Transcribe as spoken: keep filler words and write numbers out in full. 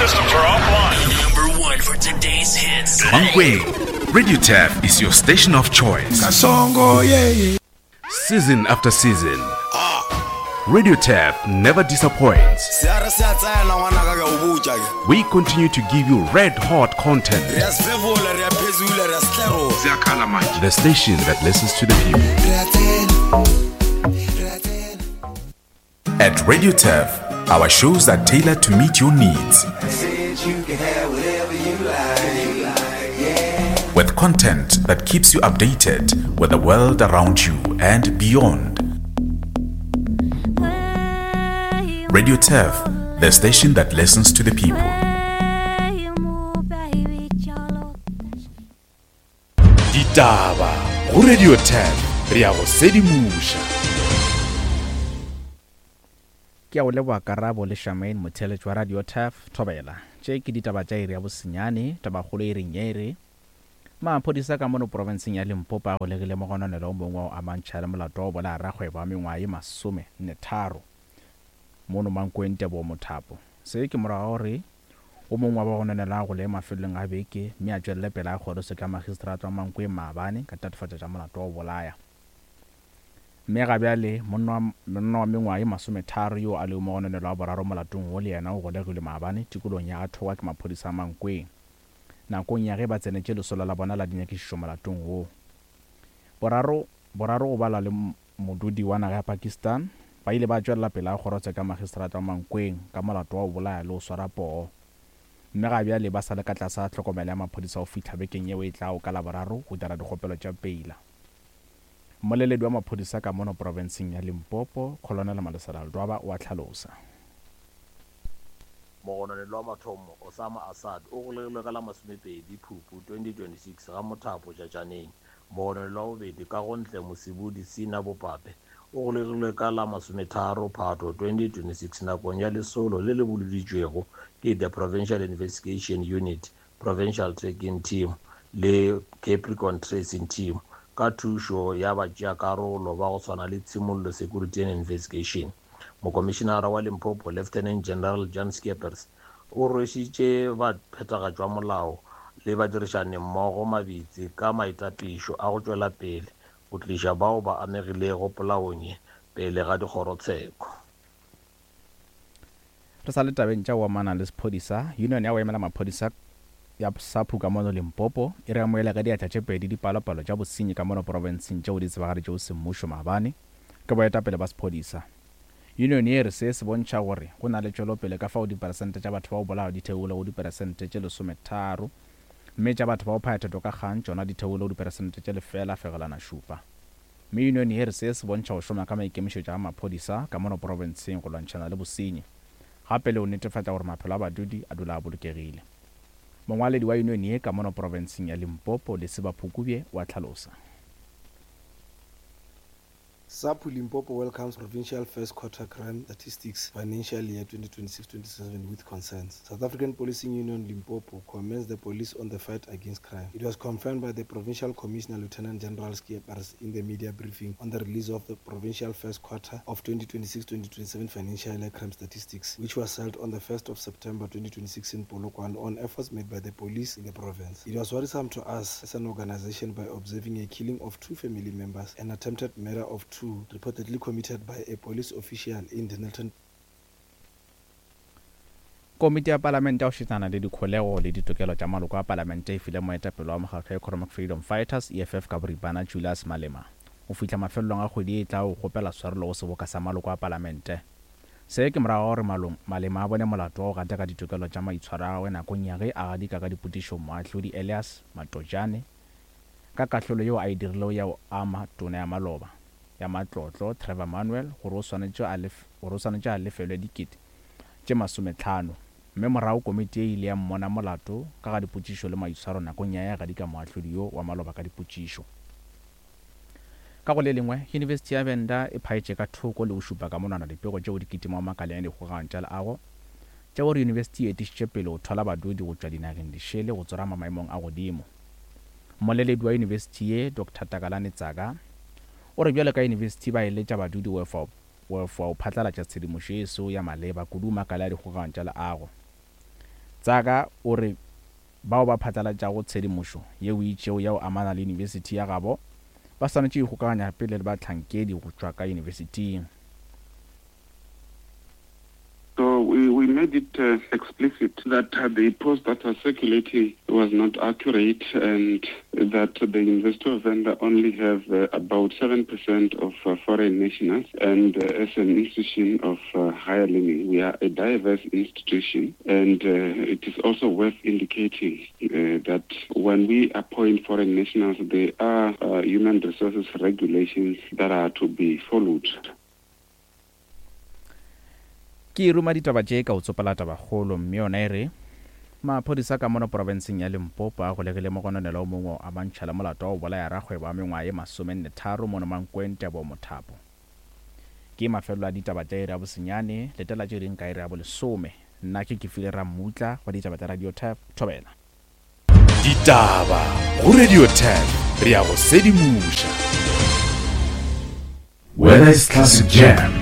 systems are offline. Number one for today's hits. Mankweng, Radio Turf is your station of choice. Kasongo, yeah, yeah. Season after season, Radio Turf never disappoints. Se a re se a tsena ngwanaka ke a o botša ke. We continue to give you red hot content. Re a sefefola, re a phezula, re a setlerola. The station that listens to the people. At Radio Turf, our shows are tailored to meet your needs. With content that keeps you updated with the world around you and beyond. Radio Turf, the station that listens to the people. Ditaba go Radio Turf, re a go sedimoša. Ke a o leboga Karabo le Shamaine motheeletši wa Radio Turf Thobela. Tše ke ditaba tša iri ya bosenyane, tabakgolo e reng ye e re maphodisa ka mono profenseng ya Limpopo a golegile mogononelo o mongwe wa go amantšha le molato wa go bolaya rakgwebo wa mengwaga ye masome nne tharo mono Mankweng Tebogo Mothapo. Se ke morago ga gore o mongwe wa bagononelwa a gole mafelelong a beke mme a tšwelele pele a kgoroswe ka magistrata wa Mankweng maabane ka tatofatšo tša molato wa go bolaya. Mme ga bjale monna wa mengwaga ye masometharo yo a lego mogononelwa wa boraro molatong wo le yena o golegilwe maabane tikolong ya Athowa ke maphodisa a Mankweng nakong ya ge ba tsenetše lesolo la bona la dinyakišišo molatong wo. Boraro boraro go balwa le modudi wa naga ya Pakistan ba ile ba tšwelela pele a kgorotsheko ya magistrata wa Mankweng ka molato wa go bolaya le go swara poo. Mme ga bjale ba sa le ka tlase ga tlhokomelo ya maphodisa go fihla bekeng yeo e tlago ka Laboraro go dira dikgopelo tša peila. Mmoleledi wa maphodisa ka mono profenseng ya Limpopo, Colonel Malesela Ledwaba o a hlalosa. Mogononelwa wa mathomo, Osama Assad, o golegilwe ka la masomepedi Phupu twenty twenty-six ga Mothapo Tšatšaneng. Mogononelwa wa bobedi, Kagontle Mosibudi Sina Bopape, o golegilwe ka la masometharo Phato twenty twenty-six nakong ya lesolo le le boloditšwego ke the Provincial Investigation Unit, Provincial Tracking Team le Capricorn Tracing Team ka thušo ya batšeakarolo ba go swana le Tshimollo Security and Investigation. Mokomišenara wa Limpopo, Lieutenant General Jan Skeepers, o rwešitše baphethagatši ba molao le badirišani mmogo mabitsi ka maitapišo a go tšwela pele go tliša bao ba amegilego polaong ye pele ga dikgorotsheko. Re sa le tabeng tša go amana le sephodisa, Union ya go emela maphodisa ya SAPU ka mono Limpopo e re amohela ka diatla tše pedi dipalopalo tša bosenyi ka mono profenseng tšeo di tsebagaditšego semmušo maabane ke boetapele ba sephodisa. Union ye re se se bontšha gore go na le tšwelopele ka fao diperesente tša batho ba go bolawa di theogile go diperesente tše lesometharo mme tša batho ba go phaya ka kgang tšona di theogile go diperesente tše lefela fegelwana šupa. Mme union ye re se se bontšha go šoma ka maikemišetšo a maphodisa ka mono profenseng go lwantšhana le bosenyi gape le go netefatša gore maphelo a badudi a dula a bolokegile. Mongwaledi wa union ye ka mono profenseng ya Limpopo, Lesiba Phukubye, wa hlalosa. SAPU Limpopo welcomes provincial first quarter crime statistics financial year twenty twenty-six twenty-seven with concerns. South African Policing Union Limpopo commends the police on the fight against crime. It was confirmed by the Provincial Commissioner Lieutenant General Skeepers in the media briefing on the release of the provincial first quarter of twenty twenty-six twenty twenty-seven financial year crime statistics, which was held on the first of September twenty twenty-six in Polokwane on efforts made by the police in the province. It was worrisome to us as an organization by observing a killing of two family members and attempted murder of two reportedly committed by a police official in Dennilton. Komiti ya Palamente ya go šetšana le dikholego le ditokelo tša maloko a Palamente e file moetapele wa mokgatlo wa Economic Freedom Fighters E F F ka boripana Julius Malema go fihla mafelelong a kgwedi e tla go kgopela tshwarelo go seboka sa maloko a Palamente. Se ke morago ga gore Malema a bone molato wa go gataka ditokelo tša maitshwaro a gagwe nakong ya ge a gadika ka dipotšišo moahlodi Elias Matojane ka kahlolo yeo a e dirilego ya go ama tona ya maloba ya matlotlo Trevor Manuel gore o swanetše a lefelwe dikete tše masometlhano mme morago komiti e ile ya mmona molato ka ga dipotšišo le maitshwaro nakong ya ya gadika moahlodi yo wa maloba ka dipotšišo. Ka go le lengwe, Yunibesithi ya Venda e phaetše ka thoko le go šupa ka monwana dipego tšeo di kitimago makaleng a dikgogano tša leago tša gore yunibesithi e etišitše pele go thwala badudi go tšwa dinageng dišele go tsorama maemong a godimo. Mmoleledi wa yunibesithi ye, Doctor Takalani Tsaka, o re bjalo ka yunibesithi ba eletša badudi go efa go phatlalatša tshedimošo ye seo ya maleba kudu makala a dikgogano tša leago. Tsaka o re bao ba phatlalatšago tshedimošo yeo e itšego ya go amana le yunibesithi ya gabo ba swanetše go ikgokaganya pele le bahlankedi go tšwa ka yunibesithing. So we, we made it uh, explicit that uh, the post that was circulating was not accurate and that the University of Venda only have uh, about seven percent of, uh, foreign nationals. And, uh, as an institution of, uh, higher learning, we are a diverse institution. And, uh, it is also worth indicating, uh, that when we appoint foreign nationals, there are, uh, human resources regulations that are to be followed. Ke ruma ditaba tše ka o tsopela tabakgolo, mme yona e re maphodisa ka mono porofenseng ya Limpopo a golegile mogononelwa o mongwe a mantšha le molato wa go bolaya rakgwebo wa mengwaga ye masomenne tharo mono Mankweng Tebo Mothapo. Ke mafelelo a ditaba tša iri ya bosenyane, letela tše ding ka iri ya bolesome. Nna ke Kefile Rammutla wa ditaba tša Radio Turf, Thobela. Ditaba go Radio Turf, re ya go sedimoša. Whether it's classic jams,